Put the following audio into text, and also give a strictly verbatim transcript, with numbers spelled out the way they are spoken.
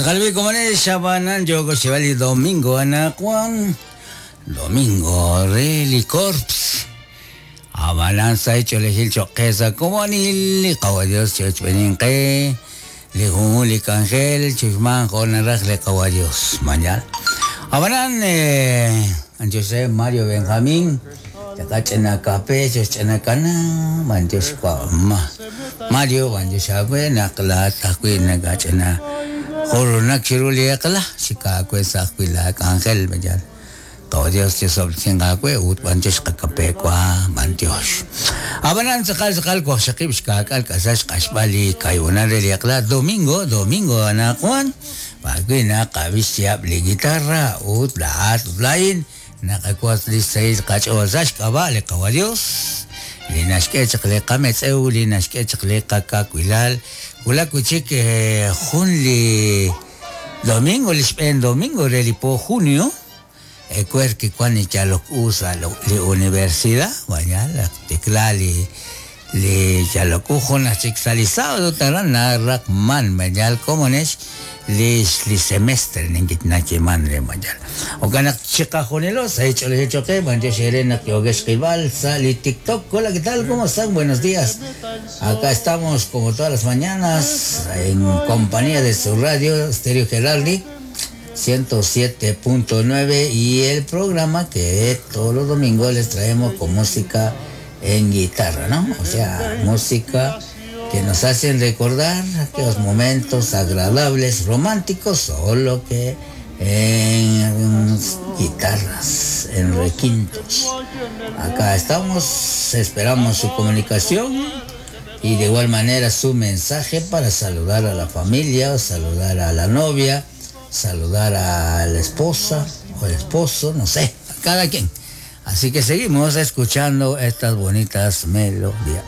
Tzaqalbi komone xabanan yogo xebali domingo anakuan domingo re li corps abanan sa cholejil choqesa komonil li qawa Dios chochbeninqe li junjun li kangel chuxman jonaraj li qawa Dios mañal abanan eh José Mario Benjamín chakach'ina kape choch'ina kana manchox ma Mario manchox naqla tajwi nakach'ina joronak chiru li eqla xikakwe sajwi la kangel mañal Qawa Dios chisob'tinqakwe ut b'anchox qakape kwa b'antiox abanan tzaqal tzaqal waqxaqib' xkak'al k'asax q'axb'al li kayunan re li eqla domingo domingo anakuan pakwi naqab'ix chiab' li guitarra ut la'at ut la'in naqakwas li sayil qach'ool sax k'ab'a li qawa Dios li naxk'e chaq li qametz'ew li naxk'e chaq li qakakwilal wulak wichik jun li domingo li xb'een domingo re li po junio ecuer que cuando ya lo usa la universidad mañana tecla li li ya lo cujo na sexualizado taran na rakman mañal como nes li li semestre ningit na chiman re mañal o kana chica jonelos ha hecho le hecho que mancho serena que ogues rival sali TikTok. Hola, ¿qué tal? ¿Cómo están? Buenos días. Acá estamos como todas las mañanas en compañía de su radio Stereo Geraldi ciento siete punto nueve y el programa que todos los domingos les traemos con música en guitarra, ¿no? O sea, música que nos hacen recordar aquellos momentos agradables, románticos, solo que en guitarras, en requintos. Acá estamos, esperamos su comunicación y de igual manera su mensaje para saludar a la familia, saludar a la novia, saludar a la esposa o el esposo, no sé, a cada quien. Así que seguimos escuchando estas bonitas melodías.